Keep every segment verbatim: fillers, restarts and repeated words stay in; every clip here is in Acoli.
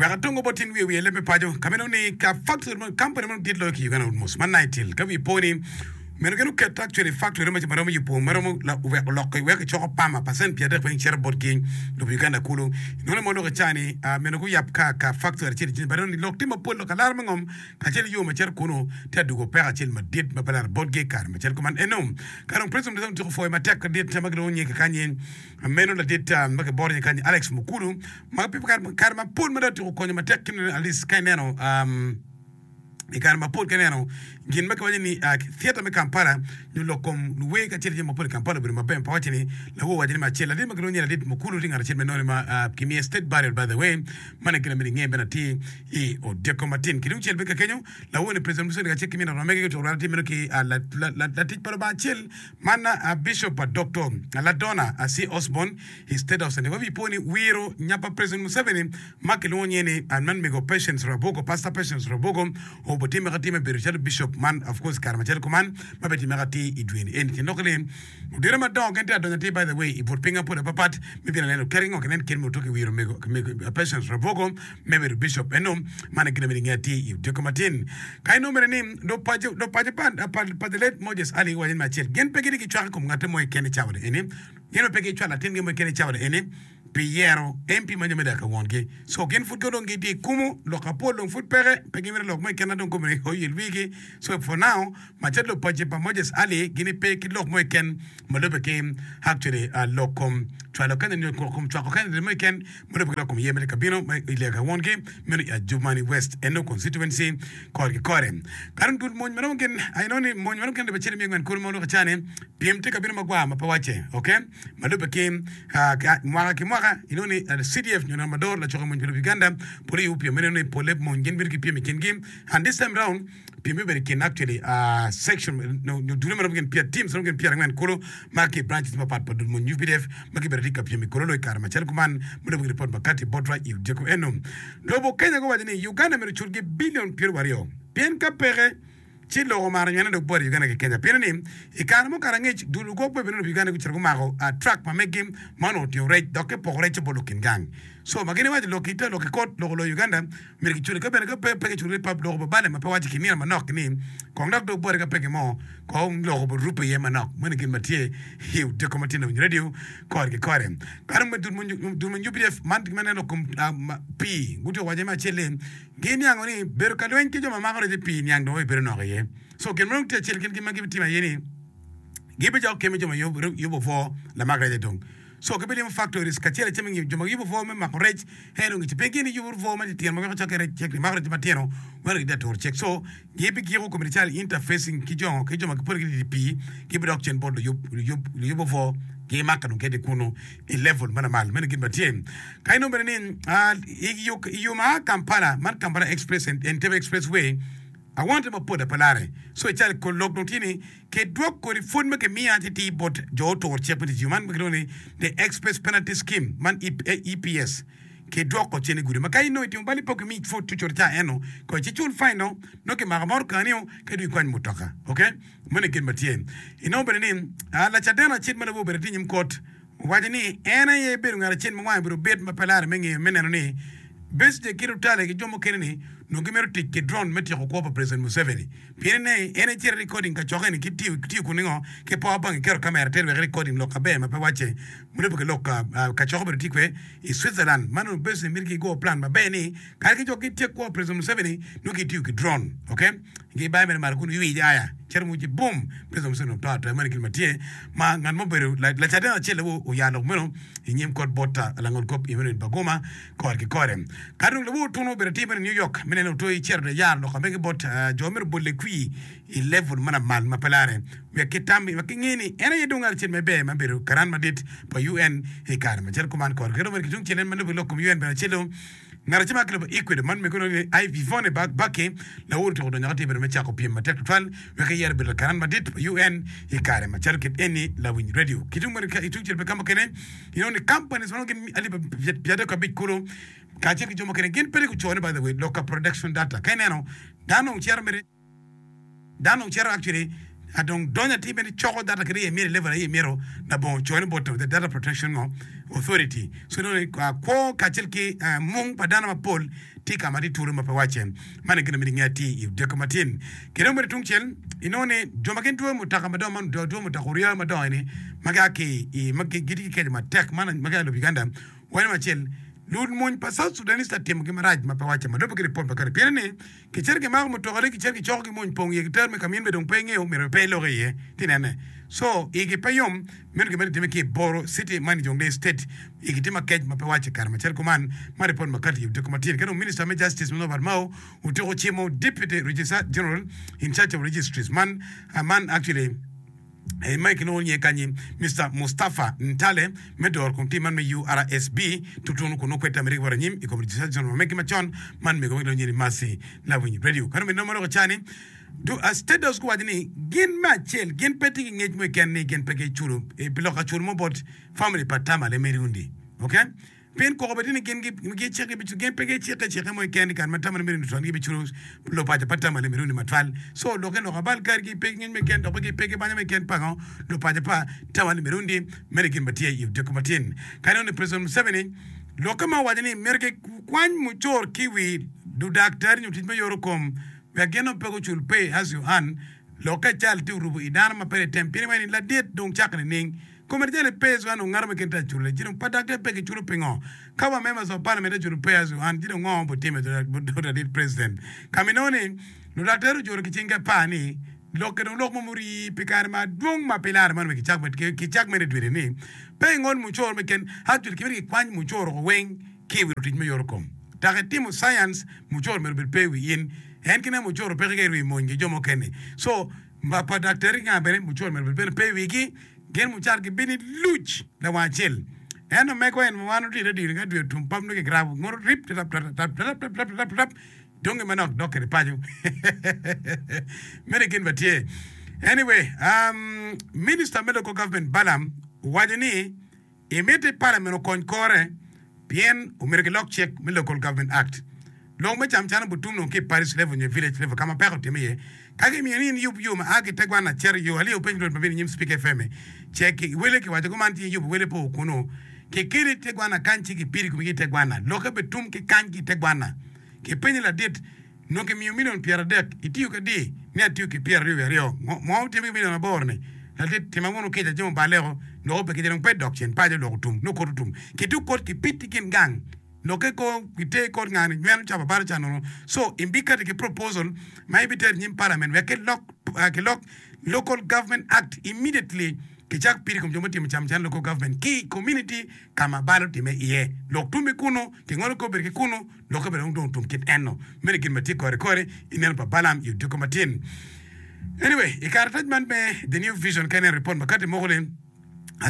Wek atongo bot in wiye wiye leb me paco ka meno ni ka factory mo company mo dit loyo ki Uganda almost ma Nitel ka wi po ni meno gin oketo actually factory ma maromo yubo maromo wek oloko wek icoko pama percent pyera adek weng cito botgi lobo Uganda kulu inongo mo lok ica ni meno guyab ka ka factory acel i but ni lok tye mapol lok alara me ngom kacel yo ma cito kunu tye adugo peko acel madit ma pe laro botgi i kare macel kuman eno ka dong president otyeko pwoyo matek ladit ma gilwongo nyinge kakany meno ladit ma kiboro nyinge kany Alex Mukulu ma pi kare mapol ma dong otyeko konyo matek ki at least ka ineno i kare mapol ka ineno gin ma kiwaco ni theatre me Kampala nyo lok kom luwer kacel ki jami mapol i Kampala obedo maber pa waco ni lawor owaco ni me acel ladit ma kilwongo ni ladit Mukulu tye ngat acel me none ma kimiye state burial by the way man gin amyero inge bene atir i odiko matin ki tungcel bene kakenyo lawor ni president Museveni kacel ki min ot ma mege gutyeko rwate meno ki latic pa Lubanga acel man Bishop Doctor Ladonna C. Osborn i State House eni wabi po ni wiro nya pa President Museveni ma kilwongo nyinge ni man mego Patience Rwabogo Pastor Patience Rwabogo obo time ka time bedo calo bishop man of course kare macalo kuman ma be time ka ti i dwe ni eni tyen lok ni odiro madongo gin tye adonyo atir by the way i but piny mapol apapat me bino neno kadi ngo kinen kit me otoki wiro mego Patience Rwabogo me bedo bishop eno man gin amyero inge atir i odiko matin ka inongo bene ni do paco do paco pa pa the late Moses Ali giwaco ni me acel gin pe gitye ki cwak i kom ngate mo keken i cawa ni eni gin pe gicwalo latingi mo keken i cawa ni eni pi yero M P ma nyo me dako wongi so gin pud dong gitye i kumu lok apol dong pud peke pe gimito lok mo keken dong kome oyel wigi. So for now macalo lupaci pa Moses Ali gin pe ki lok mo keken ma lube ki actually lok kom cwalo candidate nyo kom cwako candidate mo keken ma lube ki lok kom yer me kabino ma i lega wongi meno i Adjumani West eno constituency kore ki kore ka dong dul mony maromo gin I know ni mony maromo gin alip acel miya angwen kulu ma oloko cani pyem tye ka bino magwar ma pe wacce okay ma lube ki mwaka ki mwaka inongo ni C D F nyo Ramador lacokke mony pa lobo Uganda pole yubo pyem meno ni pole mony gin bedo ki pyem i kingi and this time round pyem bibedo i kin actually section nyo dule maromo gin pyera teams maromo gin pyera angwen kulu ma ki branches mapat pa dul mony U P D F ma gibedo tye ka pyem i kololo i kare macalo kuman ma lube ki report makati botwa i odiko eno. Lobo Kenya guwaco ni Uganda myero oculgi billion pyeraryo aryo pien ka peke ci loko omaro nywene dok bot Uganda ki Kenya pien ni i kare mukato angec dul lugwok pe bene Uganda gucito gumako truck ma meggi ma onongo otingo rec dok kipoko rec bot lukin gang so ma gin iwaco lok ite lok i kot loko loyo Uganda myero giculi ka bene ka pe pe giculi pa loko babale ma pe waco ki nino manok ni kong dok dog bote ka peke mo kong loko rupe iye manok meno gin ma tye i odiko ma tye na winyo radio kore ki kore ka dong dul ma U P D F man ma neno lok kom pii gutyeko waco me acel-li giniango ni bedo ka lweny ki jo ma mako rec i pii niang dong obedo nok iye so gin ma dong tye acel gin ma gibitimo aye ni gibijoko kemi jo ma yubo obwo lamak rec dong so gibilimo factories kacel acel me ngiyo jo ma yubo obwo me mako rec en dong pe gin giyubo obwo ma titino ma weko cokke rec cek mako rec matino weko gitye aturo cek so gibigiko komiti cal interfacing ki jo ki jo ma gipol gitye i pii gibidok cen bot luyub obwo gimako dong kede kunu i level ma lamal meno gin ma tye ka inongo bene ni i yo ma Kampala man Kampala Express Entebbe Expressway awante mapol apalare so ical lok dong tye ni kidwok kodi pwod ma kimiyo atiti bot jo otur cik me tic yo man ma kilwongo ni the Express Penalty Scheme man E P S kidwoko cen i gudi ma ka inongo itimo bal ipo kimi pwod cucut ca eno ko ci cul fine no no kimako motokani-o ka dong ikwany mutoka okay meno gin ma tye inongo bene ni lacaden acel ma nongo obedo tye i nyim kot owaco ni en aye bedo ngat acel ma wange obedo bit ma pe lare me ngeyo me neno ni Besigye ki Lutale ki jo mukene ni nongo gimito tic ki drone me tyeko kwo pa President Museveni pien ni en ecito recording ka cokke ni ki tiyo kun ningo ki power bank iketo kamera tere wek recording lok aber ma pe wacce mulebe ki lok ka cokke obedo tye kwe i Switzerland man onongo Besigye mito gigo plan maber ni kare ki jo gityek kwo pa President Museveni nongo gitiyo ki drone okay gibayo mere malo kun iwic aya cito muci boom President Museveni oto atoya meno gin ma tye ma ngat mo obedo lacaden acel oya lok meno i nyim kot bot langol kop i meno Bagoma kore ki kore ka dong lawo otuno obedo tye meno New York me neno oto icito de yaro lok amege bot jo mito bole kwi i level ma lamal ma pe lare wek ki tam wek ki nge ni en aye dong ngat acel maber ma bedo karan madit pa U N i kare macalo kuman kore kede ki tung cel en ma lubo lok kom U N bene acel ngat acel ma kilubo Ecuador man mego ni Yvonne Baki lawor otyeko donyo ka tye bedo me cako pyem matek tutwal wek eyero bedo karan madit pa U N i kare macalo kit eni lawiny radio ki tung tung cel pe ka mukene inongo ni companies ma gin alip pyera adek abic kulu kacel ki jo mukene gin pe gucone. By the way, lok ka production data ka ineno dano cito mere dano cito actually Dong donyo atir bene coko data kede iye myero i level aye myero labongo cone bot the data protection authority. So inongo ni kwo kacel ki mung pa dano mapol tye ka ma tye turu ma pe wacce. Man aye gin ma myero inge atir i odiko matin. Ki dong bene tungcel inongo ni jo ma gin dwoyo mutoka madongo man dwoyo mutoka oryo madongo eni ma gia ki i ma gitye ki keco matek man ma gia i lobo Uganda wanyo acel Lumony pa South Sudanese tye ka timogi marac ma pe wacce ma lubbe ki ripot pa kare pien ni kicito kimako mutokane kicito kicoko ki mony pong iye kitero me ka in bene dong pe ingeyo myero pe ilok iye ti nene so igi pe yom meno gin ma tye ki i Boro City man i Jonglei State igi tye makec ma pe wacce kare macalo kuman ma ripot ma kati i odiko matin ka dong Minister me Justice Norbert Mao otyeko cimo Deputy Registrar General in charge of Registries man man actually Ma kilwongo nyinge kanyi Mister Mustafa Ntale me doro kom tim man me U R S B tutunu kun nongo kwed tamere ki bot anyim i kom Registrar General ma megi macon man mego ma kilwongo nyinge ni Mercy Lawiny Radio. Kano bene nongo ma loko cani State House guwaco ni gin me acel gin pe tye ki ngec mo keken ni gin pe giculo pi loko acul mo bot family pa Tamale Mirundi. Okay? Pien koko bed ni gin gicikke gin pe gicikke cikke mo keken i kare ma Tamale Mirundi otwo ni gibiculo lupaco pa Tamale Mirundi matwal. So lokke lok abal kadi gipe ki ngec mo keken dok pe gipe ki banya mo keken pango lupaco pa Tamale Mirundi meno gin ma tye i odiko matin. Ka inongo ni President Museveni lokke ma owaco ni myero gikwany mucoro ki i wi ludaktari nyo tic me yoro kom wek gin dong pe gucul pay as you earn lokke cal tye orubo i dano ma pe litem pien iwaco ni ladit dong cako nining? Kome jali pay as you earn ongato me kin te acule ci dong pa daktar pe giculo pingo? Ka wa members of parliament aculo pay as you earn ci dong ngo butime bot ladit president? Ka ma inongo ni ludaktar ojuro ki cingi apar ni lokke dong lok mo murii pi kare madwong ma pe lare man wek kicak mere dwede ni pe ingol mucoro me ken actually kimito kikwany mucoro ko weng ki i wi lutic me yoro kom tak itimo science mucoro myero obed pe i wi in en kine mucoro peke ka irwi mony ki jo mukene so pa daktari nga bene mucoro myero obed bene pe i wigi. Gin mucal gibino i luc lawang acel. Ento mego en ma wan otye i radio ka dwe otum pam nongo kigrabo ngoto rip tap tap tap tap tap tap tap tap donge manok dok kede paco. Meno gin ma tye. Anyway, um, Minister me Local Government Balaam owaco ni imiti Parliament okony kore Pien omyero gilok cik me Local Government Act, lok me camcana butum dong ki i parish level nyo i village level ka ma peko otimme iye. Ka gimiyo ni in iyub yo ma a ki i te gwanna cito i yo alio peny rwot ma bino i nyim Spik F M ce ki wele kiwaco kuman ci iyubo wele po kunu kikeli i te gwanna kany ci kipidi komi ki i te gwanna lokke bitum ki kany ki i te gwanna kipenyo ladit Nongo kimiyo milion pyeradek, itiyo ki adi? Ni atiyo ki pyeraryo wiye aryo. Ngo ma wutimo ki milion aboro-ni? Ladit, tima wunu kica, jami obaleko, lok obe kica dong pe dok cen paco, lok otum, nongo kot otum. Kituk kot kipit i kin gang, lokke ko giter kot nga-ni nyweno cabo abalo ca nono. So, ibikati ki proposal ma ibitero i nyim parliament wek kilok kilok Local Government Act immediately kicak pido i kom jo mutimo camcana local government ki i community ka ma bal otime iye. Lok tum i kunu, kingolo kor bedo ki kunu. Lokke bene dong otum kit enno. Meno gin ma tye kore kore i neno pa Balaam i odiko matin. Anyway, i karatac man me The New Vision ka ineno ripot ma kati moko ni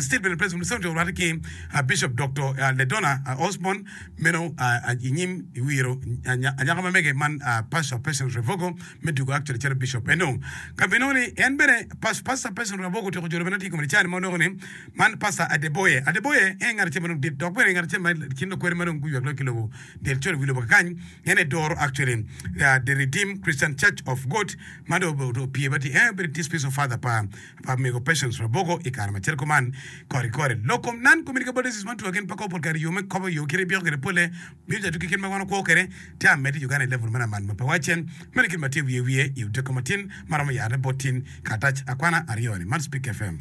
Still bene President Museveni otyeko rwatte ki Bishop Doktor Ledona Osborn meno i nyim wiro anyaka ma mege man Pastor Patience Revogo me dwogo actually calo Bishop eno. Ka bino ni en bene Pastor Patience Revogo otyeko jolo bene tye i kome cani ma onongo ni man Pastor Adeboye. Adeboye en ngat acel ma dong dit dok bene ngat acel ma kin lukwede ma dong guywek loyo ki lobo del col i wi lobo kakany en aye doro actually The Redeemed Christian Church of God ma dong opye ma tye en obedo dispersal father pa pa mego Patience Rabogo i kare macalo kuman kore kore. Lok kom non communicable diseases man two gin pe kobo pol kare yo me kobo yo kite byeko kwede pole miyo jatu ki kit ma wan wakwo kwede tye amedde i Uganda i level ma lamal ma pe wacce meno kit ma tye wiye wiye i odiko matin ma romo yare bot tin karatac akwana aryo ni man Speak F M.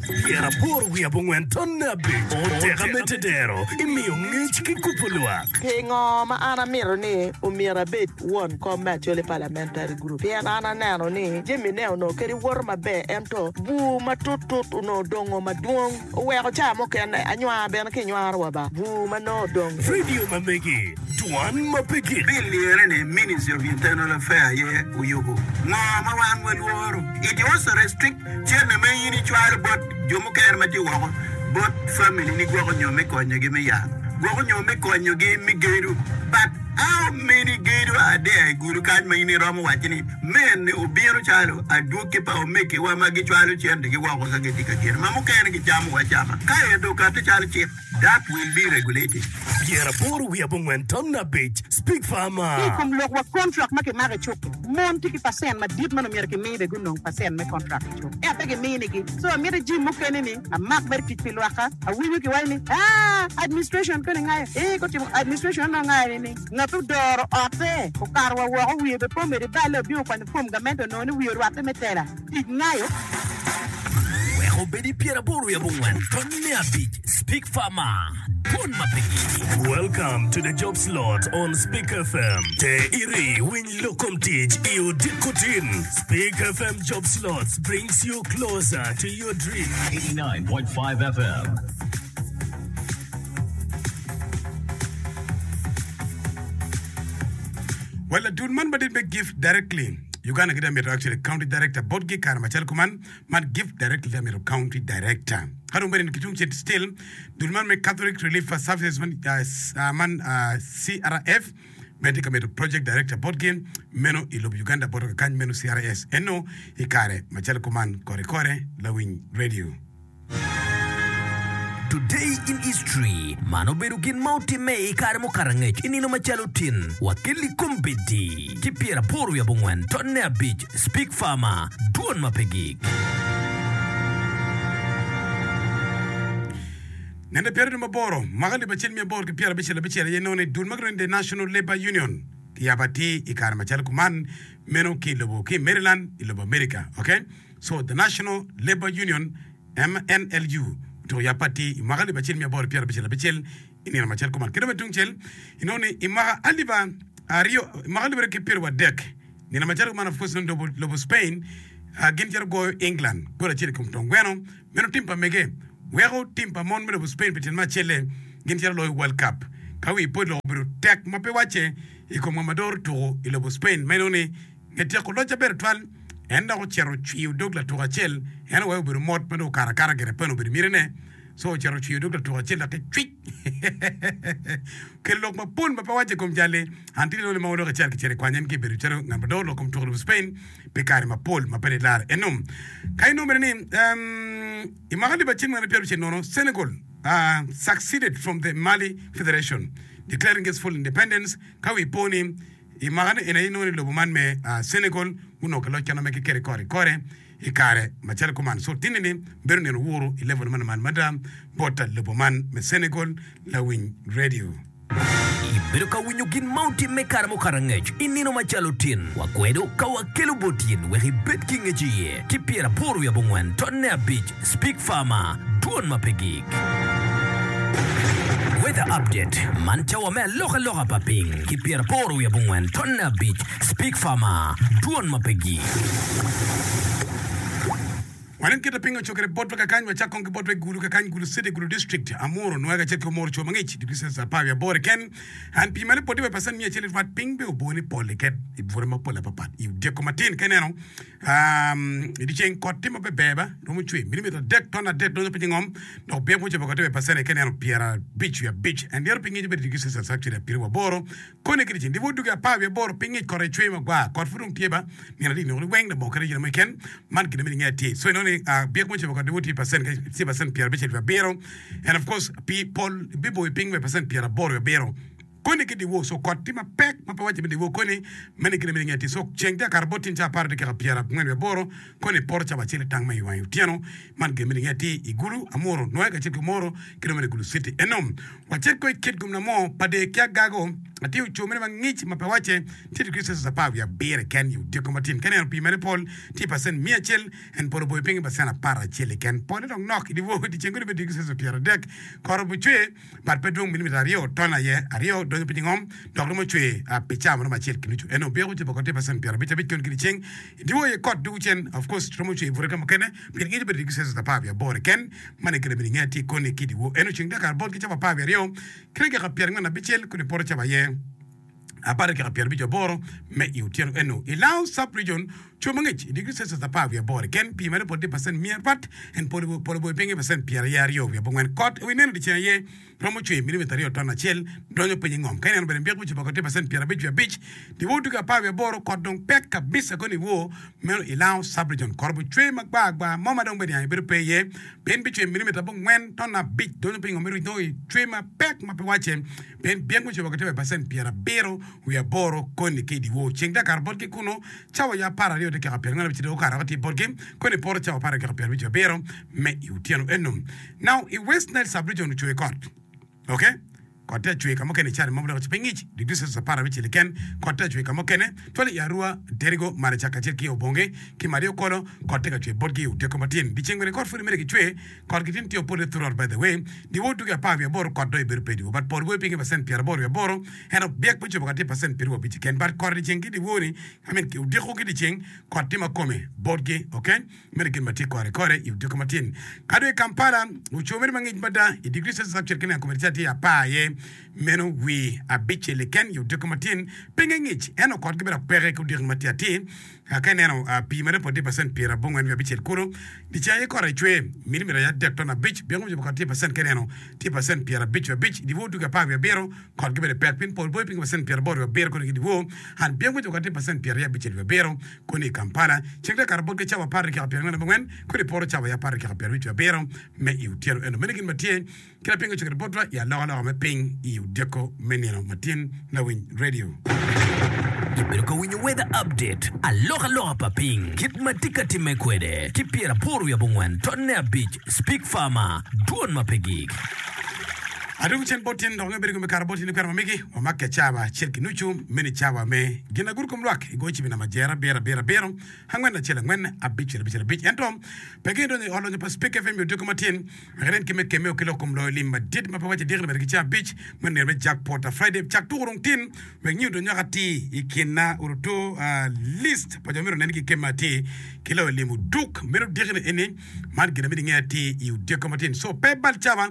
Pyeraboro wiye abongwen tonne abic oteka me tedero imiyo ngec ki kubo lwak. Pingo ma an amito ni omyero abed won kom me Acholi Parliamentary Group? Pien an aneno ni jami ne onongo kadi woto maber ento bur matut tut onongo dongo madwong oweko ca mukene anywar bene ki nywaro wa ba bur ma nongo odong. Radio ma megi, dwan ma pe gik. Bill lirre ni Ministry of Internal Affairs aye oyubo. Ngo ma wan walworo? It also restrict Cente ma in icwalo bot jo mukene ma tye woko bot family ni gwoko nyo me konyogi me yat, gwoko nyo me konyogi me gedo. But how many gedo are there i gudo kany ma in iromo waco ni mene obino calo adwogi pa omegiwa ma gicwalo centegi woko ka gitye ka gedo ma mukene gicamo wa acama ka ento okati calo cik. That will be regulated. Pyeraboro wiye abongwen ton abic Speak Ki i Farmer. kom lok wa kontrak ma kimako i cuk-ki, mon tye ki pacent madit ma nongo myero kimi bene gunong pacent me kontrak i cuk, ento pe giminigi. So amito jim mukene ni amak mere tic pi lwakka. Awinyo kiwaco ni, Aa, administration koni ngayo. Ee, gutimo administration onongo ngayo ni ngat odoro otte okato wa woko wiye bene pe omedo iballe obino okwanyo fom gamente onongo ni wiye orwatte me tela tic ngayo. Wek obed i pyeraboro wiye abongwen tonne abic Speak Farmer, Dwon ma pe gik. Welcome to the job slot on Speak F M. Te iri winy lok kom tic i odiko tin. Speak F M Job Slots brings you closer to your dream. eighty-nine point five F M. Well, ladul man madit me Give Directly Uganda gitye mito actually county director botgi kare macalo kuman man Give Directly tye mito county director. Ka dong bene kitung cen still dul man me Catholic Relief Services man, uh, s-, uh, man, uh, C R F bene tye ka mito project director botgi meno i lobo Uganda boto kakany meno C R S eno i kare macalo kuman kore kore lawiny radio. Today in history, man obedo gin ma otimme i kare mukato angec i nino macalo tin wakeli kombeddi ki pyeraboro wiye abongwen tonne abic Speak Farmer, Dwon ma pe gik. Nende pyeraryo maboro, mwaka alip acel miya aboro ki pyerabicel abicel aye nongo ni dul ma gilwongo ni The National Labour Union kiyabo atir i kare macalo kuman meno ki i lobo ki i Maryland i lobo America. Okay? So the National Labour Union M N L U otuko yab atir i mwaka alip acel miya aboro ki pyerabicel abicel i nino macalo kuman. Kede bene tungcel inongo ni i mwaka alip aryo, i mwaka alip aryo ki pyeraryo adek nino macalo kuman of course nongo lobo, lobo Spain uh, gin cito goyo England gol acel i kom tong gweno meno tim pa mege weko tim pa mon me lobo Spain pi tyen me acelle gin cito loyo World Cup. Ka wi pod lok obedo tek ma pe wacce i kom ngom ma doro tuko i lobo Spain ma inongo ni nge tyeko loc aber twal en dok ocito ocwiyo dog latuko acel en oweko obedo mot ma dong okato akata gire pe obedo mitine so ocito ocwiyo dog latuko acel dok ki cwic kelo lok mapol ma pe wacce i kom jali an tye lole ma olok acel kicito i kwany en ki bedo calo ngat ma doro lok kom tuko lobo Spain pi kare mapol ma pe dilare eno ka inongo bene ni, um, i mwaka alip acel miya pyerabicel nono Senegal uh, succeeded from the Mali Federation declaring its full independence ka wi po ni i mwaka ni eni inongo ni lobo man me, uh, Senegal gunongo ki loc kene ma gikete kore kore i kare macalo kuman. So tinni ni bedo nino wuru i level man man mada bot lobo man me Senegal lawiny radio. Ibedo ka winyo gin ma otimme kare mukato angec i nino macalo tin. Wakwedo ka wakelo bot in wek ibed ki ngec iye ki pyeraboro wiye abongwen tonne abic Speak Farmer, Dwon ma pe gik. Weather update man cawa me alokaloka pa piny ki pyeraboro wiye abongwen tonne abic Speak Farmer, Dwon ma pe gik. Wanen kit ma piny ocokere botwa kakany, wacak kong ki botwa i Gulu kakany, Gulu City, Gulu District, Amuru, Nwega kacel ki Omoro co mangic, degree Celsius apar wiye aboro keken. An pii malo poti wa i pacent miya acel i rwat piny be obo ni pol iket i bute mapol apapat. I odyeko matin ka ineno, um, i dyeceng kot tye ma pe ber ba, romo cwe milimita adek ton adek donyo piny i ngom, dok byek mucobo kot tye wa i pacent ka ineno pyerabic wiye abic. En dyero piny ngic obedo degree Celsius actually apiriwa aboro. Koni ki dyeceng dyewor duge apar wiye aboro piny ngic kot aye cwe magwar. Kot pud dong tye ba nino adi nino weng labongo kadi gin mo keken. Man gin ma inge atir. So inongo ni, uh, byek mucobo kot dyewor tye i pacent, tye i pacent pyerabicel wiye abiro. And of course pi pol biboyo piny wa i pacent pyeraboro wiye abiro. Koni ki dyewor so kot tye mapek ma pe wacce me dyewor koni meno gin ma inge atir. So ceng tye akato bot tyen ca apar dakika pyerangwen wiye aboro koni poto cawa acel i tang ma i wangi otyeno. Man gin ma inge atir i Gulu, Amuru, Nwega kacel ki Omoro ki dong bene Gulu City. Eno wacit ko i kit gum na mo pa der ki agago atir oco mene ma ngic ma pe wacce tye degree Celsius apar wiye abiro keken i odyeko matin. Ka ineno pii mere pol tye i pacent miya acel en pol oboyo piny i pacent apar acel keken. Pole dong nok i dyewor dyeceng kodi bedo degree Celsius pyeradek. Kot obucwe but pe dwong milimita aryo ton aye aryo donyo piny i ngom dok romo cwe pi cawa maromo acel ki nucu. Eno byeko ocobo kot tye pacent pyerabic abic koni ki dyeceng. I dyewor aye kot dugo cen of course romo cwe i bute ka mukene pien ngic obedo degree Celsius apar wiye aboro keken. Man aye kite bene inge tye koni ki dyewor. Eno ceng dakika bot ki cawa apar wiye aryo ki dakika pyerangwen abicel kodi poto cawa aye apar dakika pyerabic aboro me i otyeno. Eno i Lao sub-region Co mangic i degree Celsius apar wiye aboro keken, pii mere pol tye pacent miya apat en polo polo boyo pinye pacent pyeraryo aryo wiye abongwen. Kot i wi neno dyeceng aye romo cwer milimita aryo ton acel donyo piny i ngom. Ka ineno bene byek me coboko tye pacent pyerabic wiye abic. Dyewor tugi apar wiye aboro kot dong pek kabisa koni iwor meno i Lango sub-region. Kot obucwer magwar agwar mo ma dong bene niang ibedo pe iye pien bicwer milimita abongwen ton abic donyo piny i ngom me ruc nongo icwer mapek ma pe wacce pien byek me coboko tye wa i pacent pyerabiro wiye aboro koni ki i dyewor. Ceng tye ka kato botgi kunu cawa ya apar aryo dakika pyerangwen abic dong okato tye botgi koni poto cawa apar dakika pyerabic abiro me i otyeno eno. Now i West Nile sub-region ocwer kot. Ok. Kot tye acwer ka mukene i cari mogo dok piny ngic degree Celsius apar abicel keken. Kot tye acwer ka mukene twal i Arua, Derigo, Maracak kacel ki Obonge ki Maria Okolo. Kot tye ka cwer botgi i odiko matin. Dyeceng bene kot pud imede ki cwer. Kot gitin tye opole throughout by the way. Dyewor tugi apar wiye aboro kot dong ibedo pe dyewor but pol goyo piny ki percent pyeraboro wiye aboro ento byek me cobo ka tye percent pyeraryo abic keken but kot dyeceng ki dyewor ni I mean odiko ki dyeceng kot tye ma kome botgi ok. Meno gin ma tye kore kore i odiko matin. Ka dong i Kampala, ocoo mere mangic mada i digri Celsius abicel ki neno kome tica tye apar aye, meno wi abicel keken i odiko matin. Pinge ngic, ento kotgi bene dok peke ki odiko ma tye atir. Ka ineno pii mere pol tye pacent pyerabongwen wiye abicel kulu. Dyeceng aye kore cwer, milimita aye adek ton abic. Byeko me cobo kot tye pacent ka ineno tye pacent pyerabic wiye abic. I dyewor tugi apar wiye abiro, kotgi bene pek pien pol boyo piny ki pacent pyeraboro wiye abiro koni ki dyewor. And byeko me cobo kot tye pacent pyeraryo abicel wiye abiro koni i Kampala. Ceng te kato botgi cawa apar dakika pyerangwen abongwen kodi poto cawa ya apar dakika pyerabic wiye abiro me i otyeno eno. Meno gin ma tye kit ma piny ociko botwa i alokaloka me piny i odiko me nino matin lawiny radio. Ibedo ka winyo Weather Update, alokaloka pa piny kit ma tye ka timme kwede ki pyeraboro wiye abongwen tonne abic Speak Farmer, dwon ma pe gik. Adwogo cen bot tyen dok nge bedo gome kare bot tyen i kwena ma megi wamakke cawa acel ki nucu meno i cawa me gin aguru kom lwak i goyo cibi namba jer abiro abiro abiro angwen acel angwen abicel abicel abic ento pe gin donyo i ot lonyo pa Spik F M i odiko matin wek inen ki me kemme ki lok kom loyo lim madit ma pe waco diki ni medo ki ceng abic me nino me Jackpot a Friday cak tuko dong tin wek nyo donyo atir i kin orutu list pa jo myero onen ki kemme atir ki loyo lim oduk meno diki ni eni man gin ma myero inge atir i odiko matin so pe bal cawa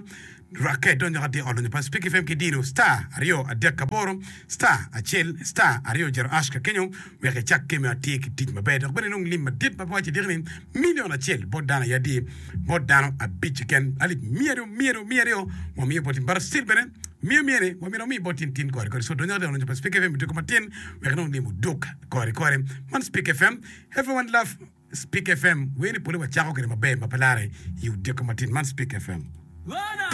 Rwakke donyo ka tye ot lonyo pa Spik F M ki dino star aryo adek aboro star acel star aryo jero ash ka kenyo wek icak keme atir ki tic maber dok bene inong lim madit ma pe waco idiki ni million acel bot dano aye adi bot dano abic keken alip miya aryo miya aryo miya aryo wamiyo bot in Brazil bene miya miya ni wamito wami bot in tin kore kore so donyo ka tye ot lonyo pa Spik F M odiko matin wek inong lim oduk kore kore man Spik F M everyone love Spik F M wer ni pole wacako kwede maber ma pe lare i odiko matin man Spik F M.